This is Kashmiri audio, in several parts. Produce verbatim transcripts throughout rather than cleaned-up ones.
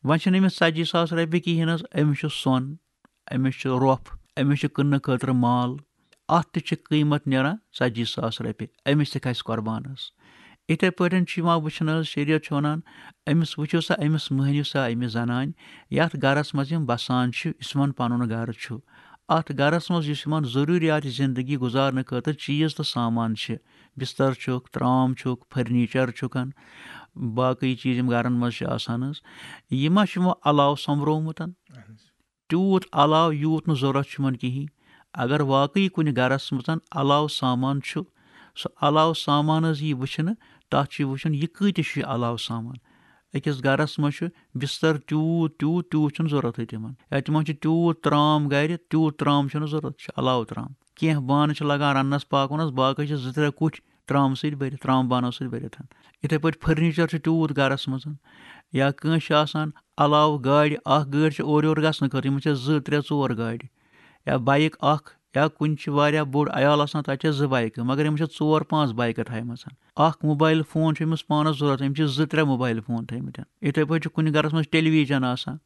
وۄنۍ چھِنہٕ أمِس ژَتجی ساس رۄپیہِ کِہیٖنۍ حظ، أمِس چھُ سۄن، أمِس چھُ رۄپھ، أمِس چھُ کٕننہٕ خٲطرٕ مال، اَتھ تہِ چھِ قۭمَتھ نیران ژَتجی ساس رۄپیہِ، أمِس تہِ کھسہِ قۄربانَس۔ یِتھَے پٲٹھۍ چھُ یِوان وٕچھنہٕ حظ، شریعت چھُ وَنان، أمِس وٕچھِو سا، أمِس مٔہنِو سا، أمِس زَنانہِ، یَتھ گَرَس منٛز یِم بَسان چھِ، یُس یِمَن پَنُن گَرٕ چھُ، اَتھ گَرَس منٛز یُس یِمَن ضروٗریات زِندگی گُزارنہٕ خٲطرٕ چیٖز تہٕ سامان چھِ، بِستَر چھُکھ، ترٛام چھُکھ، فٔرنیٖچَر چھُکھ، باقٕے چیٖز یِم گَرَن منٛز چھِ آسان حظ، یہِ ما چھُ یِمو علاوٕ سۄمبرومُت؟ تیوٗت علاوٕ یوٗت نہٕ ضوٚرَتھ چھُ یِمَن کِہیٖنۍ۔ اگر واقعی کُنہِ گَرَس منٛز علاوٕ سامان چھُ، سُہ علاوٕ سامان حظ یی وٕچھنہٕ، تَتھ چھُ یہِ وٕچھُن، یہِ کۭتِس چھُ یہِ علاوٕ سامان۔ أکِس گَرَس منٛز چھُ بِستَر تیوٗت، تیوٗت، تیوٗت چھُنہٕ ضوٚرَتھٕے تِمَن۔ یا تِمَن چھُ تیوٗت ترٛام گَرِ، تیوٗت ترٛام چھُنہٕ ضوٚرَتھ، چھُ علاوٕ ترٛام۔ کینٛہہ بانہٕ چھِ لَگان رَننَس پاکوَنَس، باقٕے چھِ زٕ ترٛےٚ کُٹھۍ ترٛامہٕ سۭتۍ بٔرِتھ، ترٛام بانو سۭتۍ بٔرِتھ۔ یِتھَے پٲٹھۍ فٔرنیٖچَر چھُ تیوٗت گَرَس منٛز۔ یا کٲنٛسہِ چھُ آسان علاوٕ گاڑِ، اَکھ گٲڑۍ چھِ اورٕ یورٕ گژھنہٕ خٲطرٕ، یِمَن چھِ زٕ، ترٛےٚ، ژور گاڑِ۔ یا بایِک اَکھ، یا کُنہِ چھِ واریاہ بوٚڑ عیال آسان، تَتہِ چھِ زٕ بایِکہٕ، مگر یِمَن چھِ ژور پانٛژھ بایِکہٕ تھایمَژَن۔ اَکھ موبایِل فون چھُ أمِس پانَس ضوٚرَتھ، أمِس چھِ زٕ، ترٛےٚ موبایِل فون تھٲیمٕتۍ۔ یِتھَے پٲٹھۍ چھُ کُنہِ گَرَس منٛز ٹیلی ویجَن آسان،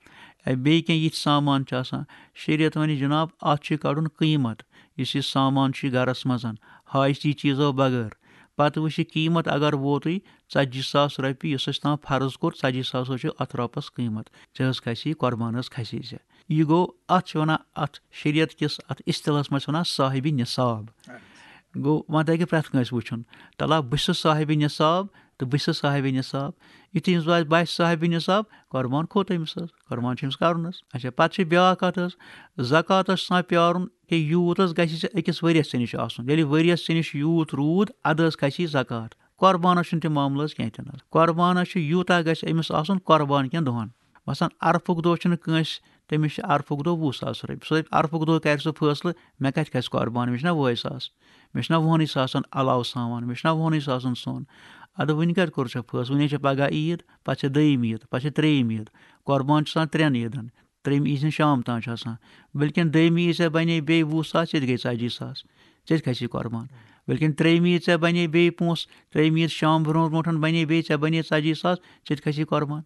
یا بیٚیہِ کینٛہہ یِتھۍ سامان چھِ آسان۔ شریعت وَنہِ، جِناب، اَتھ چھُ کَڑُن قۭمَتھ، یُس یہِ سامان چھُ یہِ گَرَس منٛز، حاجتی چیٖزو بغٲر۔ پَتہٕ وٕچھ یہِ قۭمَتھ اگر ووتُے ژَتجی ساس رۄپیہِ، یُس اَسہِ تام فرض کوٚر، ژَتجی ساس چھُ اَتھ رۄپَس قۭمَتھ، ژےٚ حظ کھسی یہِ قۄربان، حظ کھسی ژےٚ۔ یہِ گوٚو، اَتھ چھِ وَنان، اَتھ شریعت کِس اَتھ اصطلاحَس منٛز چھِ وَنان صاحبِ نِصاب۔ گوٚو، وۄنۍ تَگہِ پرٛٮ۪تھ کٲنٛسہِ وٕچھُن، تَلہ بہٕ چھُس صاحبِ نِصاب تہٕ بہٕ چھُس صاحبِ نِصاب۔ یُتھُے أمِس باسہِ، بہٕ چھُس صاحبِ نِصاب، قۄربان کھوٚت أمِس حظ، قۄربان چھُ أمِس کَرُن حظ۔ اچھا، پَتہٕ چھِ بیٛاکھ کَتھ حظ، زکوٰتَس چھُ آسان پیٛارُن کہِ یوٗت حظ گژھِ ژےٚ أکِس ؤریَس ژےٚ نِش آسُن۔ ییٚلہِ ؤریَس ژےٚ نِش یوٗت روٗد، اَدٕ حظ کھسی زکوٰۃ۔ قۄربانَس چھُنہٕ تہِ معاملہٕ حظ کینٛہہ تہِ نہٕ حظ۔ قۄربانَس چھُ یوٗتاہ گژھِ أمِس آسُن قۄربان کٮ۪ن دۄہَن۔ مثلاً، عرفُک دۄہ چھُنہٕ کٲنٛسہِ، تٔمِس چھِ عرفُک دۄہ وُہ ساس رۄپیہِ۔ سُہ دَپہِ، عرفُک دۄہ کَرِ سُہ فٲصلہٕ، مےٚ کَتہِ کھسہِ قۄربان، مےٚ چھِنہ وُہَے ساس، مےٚ چھِنہ وُہَنٕے ساسَن علاوٕ سامان، مےٚ چھِنہ وُہَنٕے ساسَن سۄن۔ اَدٕ وٕنہِ کَتہِ کوٚر ژےٚ فٲصلہٕ؟ وٕنہِ چھےٚ پَگاہ عیٖد، پَتہٕ چھےٚ دوٚیِم عیٖد، پَتہٕ چھےٚ ترٛیٚیِم عیٖد۔ قۄربان چھُ آسان ترٛٮ۪ن عیٖدَن۔ ترٛیٚیِمہِ عیٖذ ہٕنٛز شام تام چھِ آسان۔ بلکہِ دوٚیمہِ عیٖذ ژےٚ بَنے بیٚیہِ وُہ ساس، ژےٚ تہِ گٔے ژَتجی ساس، ژےٚ تہِ کھسی قۄربان۔ بلکہِ ترٛیٚیِمہِ عیٖذ ژےٚ بَنے بیٚیہِ پونٛسہٕ، ترٛیٚیِمہِ عیٖذ شام برونٛٹھ برونٛٹھ بَنے بیٚیہِ، ژےٚ بَنے ژَتجی ساس، ژےٚ تہِ کھسی قۄربان۔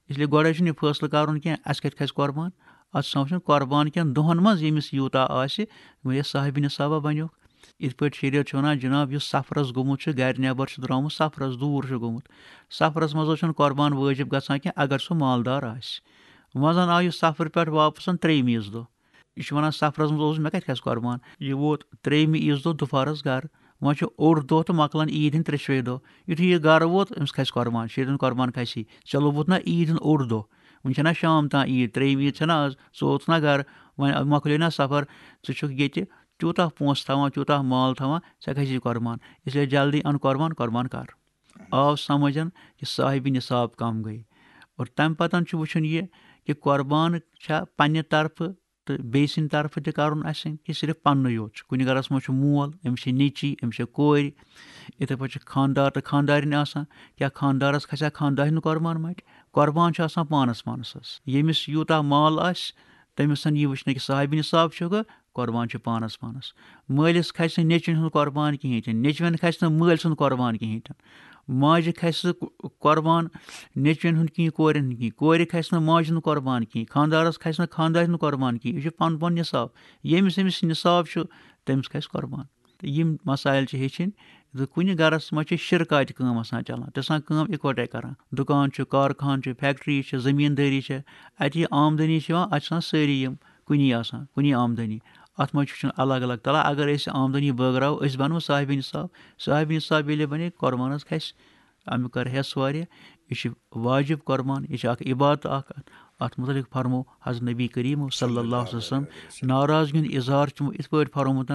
اس لیے گۄڈَے چھُنہٕ یہِ فٲصلہٕ کَرُن کینٛہہ، اَسہِ کَتہِ کھسہِ قۄربان۔ اَتھ چھُ آسان وٕچھُن قۄربان کٮ۪ن دۄہَن منٛز ییٚمِس یوٗتاہ آسہِ، وۄنۍ یہِ صاحبِ نِصابہ بَنیوکھ۔ یِتھ پٲٹھۍ شریعت چھِ وَنان، جِناب، یُس سفرَس گوٚمُت چھُ، گَرِ نٮ۪بَر چھُ درٛامُت، سفرَس دوٗر چھُ گوٚمُت، سفرَس منٛز حظ چھُنہٕ قۄربان وٲجِب گژھان کینٛہہ، اگر سُہ مالدار آسہِ۔ وۄنۍ زَن آو یہِ سفرٕ پٮ۪ٹھ واپَس ترٛیٚیِمہِ عیٖذ دۄہ۔ یہِ چھُ وَنان، سفرَس منٛز اوسُس، مےٚ کَتہِ کھسہِ قۄربان؟ یہِ ووت ترٛیٚیِمہِ عیٖذ دۄہ دُپھارَس گَرٕ۔ وۄنۍ چھُ اوٚڑ دۄہ تہٕ مۄکلان عیٖد ہِنٛدۍ ترٛیٚشوَے دۄہ۔ یُتھُے یہِ گَرٕ ووت، أمِس کھسہِ قۄربان، شیرِن قۄربان کھسی۔ ژےٚ لوٚبوُت نہ عیٖد ہُنٛد اوٚڑ دۄہ، وٕنہِ چھَنہ شام تام عیٖد، ترٛیٚیِم عیٖد چھَنہ آز، ژٕ ووتُکھ نہ گَرٕ، وۄنۍ مۄکلے نہ سفر، ژٕ چھُکھ ییٚتہِ تیوٗتاہ پونٛسہٕ تھاوان، تیوٗتاہ مال تھاوان، ژےٚ کھسی قۄربان۔ اس لیے جلدی اَن قۄربان، قۄربان کَر۔ آو سمجھن کہِ صاحبِ نصاب کم گٔے۔ اور تَمہِ پتہٕ چھُ وٕچھُن یہِ کہِ قۄربان چھا پننہِ طرفہٕ تہٕ بیٚیہِ سٕنٛدِ طرفہٕ تہِ کَرُن اَسہِ کہِ صرف پننُے یوت چھُ۔ کُنہِ گَرَس منٛز چھُ مول، أمِس چھِ نیٚچی، أمِس چھِ کورِ، یِتھَے پٲٹھۍ چھِ خانٛدار تہٕ خانٛدارِنۍ آسان۔ کیٛاہ خانٛدارَس کھسیا خانٛدارِنۍ قۄربان مَٹہِ؟ قۄربان چھُ آسان پانَس پانَس حظ۔ ییٚمِس یوٗتاہ مال آسہِ، تٔمِس یی وٕچھنہٕ کہِ صاحبِ نصاب چھُکھٕ، قۄربان چھُ پانَس پانَس۔ مٲلِس کھسہِ نہٕ نیٚچوِنۍ ہُنٛد قۄربان کِہیٖنۍ تہِ نہٕ، نیٚچوٮ۪ن کھسہِ نہٕ مٲلۍ سُنٛد قۄربان کِہیٖنۍ تہِ نہٕ۔ ماجہِ کھسہِ نہٕ قۄ-، قۄربان نیٚچوٮ۪ن ہُنٛد کِہیٖنۍ، کورٮ۪ن ہُنٛد کِہیٖنۍ، کورِ کھسہِ نہٕ ماجہِ ہُنٛد قۄربان کِہیٖنۍ، خانٛدارَس کھسہِ نہٕ خانٛدارِ ہُنٛد قۄربان کِہیٖنۍ۔ یہِ چھُ پَنُن پَنُن نِصاب۔ ییٚمِس أمِس نِصاب چھُ، تٔمِس کھسہِ قۄربان۔ تہٕ یِم مسائل چھِ ہیٚچھِنۍ زِ کُنہِ گَرَس منٛز چھِ شِرکاتہِ کٲم آسان چَلان، تہِ آسان کٲم اِکوَٹَے کَران۔ دُکان چھُ، کارخان چھُ، فیکٹری چھِ، زٔمیٖندٲری چھِ، اَتہِ یہِ آمدٔنی چھِ یِوان، اَتہِ چھِ آسان سٲری یِم کُنی آسان، کُنی آمدٔنی۔ اَتھ منٛز چھُ وٕچھُن الگ الگ۔ تَلہ اگر أسۍ آمدٔنی بٲگراوو، أسۍ بَنو صاحبِ نِصاب۔ صاحبِ نِصاب ییٚلہِ بَنے، قۄربانَس کھسہِ۔ اَمیُک کَرٕ حِصہٕ واریاہ۔ یہِ چھِ واجب قۄربان، یہِ چھِ اَکھ عبادت اَکھ۔ اَتھ مُتعلِق فرمو حضرت نبی کریم صلی اللہ علیہ وسلم، ناراضگی ہُنٛد اظہار چھُ یِمو یِتھ پٲٹھۍ فرمومُت،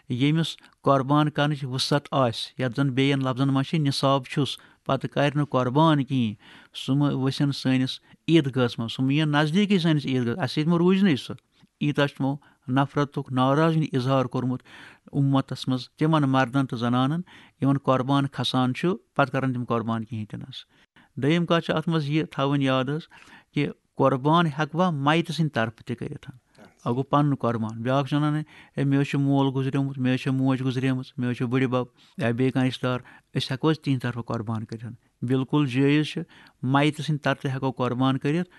ییٚمِس قۄربان کرنٕچ وُسعت آسہِ، یَتھ زَن بیٚیَن لفظن منٛز چھِ نِصاب چھُس، پَتہٕ کَرِ نہٕ قۄربان کِہیٖنۍ، سُہ مہٕ ؤسِن سٲنِس عیٖدگاہَس منٛز، سُہ مہٕ یِن نزدیٖکٕے سٲنِس عیٖدگاہَس، اَسہِ سۭتۍ مہٕ روٗزنٕے سُہ۔ ییٖتاہ چھُ تِمو نفرتُک، ناراضگی ہُنٛد اظہار کوٚرمُت اُمتَس منٛز تِمَن مردَن تہٕ زنانَن، یِمَن قۄربان کھسان چھُ، پَتہٕ کَرَن تِم قۄربان کِہیٖنۍ تہِ نہٕ حظ۔ دوٚیِم کَتھ چھِ اَتھ منٛز یہِ تھاوٕنۍ یاد حظ کہِ قۄربان ہٮ۪کہٕ بہٕ مَیتہٕ سٕنٛدِ طرفہٕ تہِ کٔرِتھ۔ اَکھ گوٚو پَنُن قۄربان، بیٛاکھ چھُ وَنان، "ہے، مےٚ حظ چھُ مول گُزریومُت، مےٚ حظ چھِ موج گُزریمٕژ، مےٚ حظ چھُ بٕڈِ بَب یا بیٚیہِ کانٛہہ رِشتہٕ دار، أسۍ ہٮ۪کو حظ تِہِنٛدِ طرفہٕ قۄربان کٔرِتھ؟" بِلکُل جٲیِز چھِ، مَیتہٕ سٕنٛدِ طرفہٕ ہٮ۪کو قۄربان کٔرِتھ،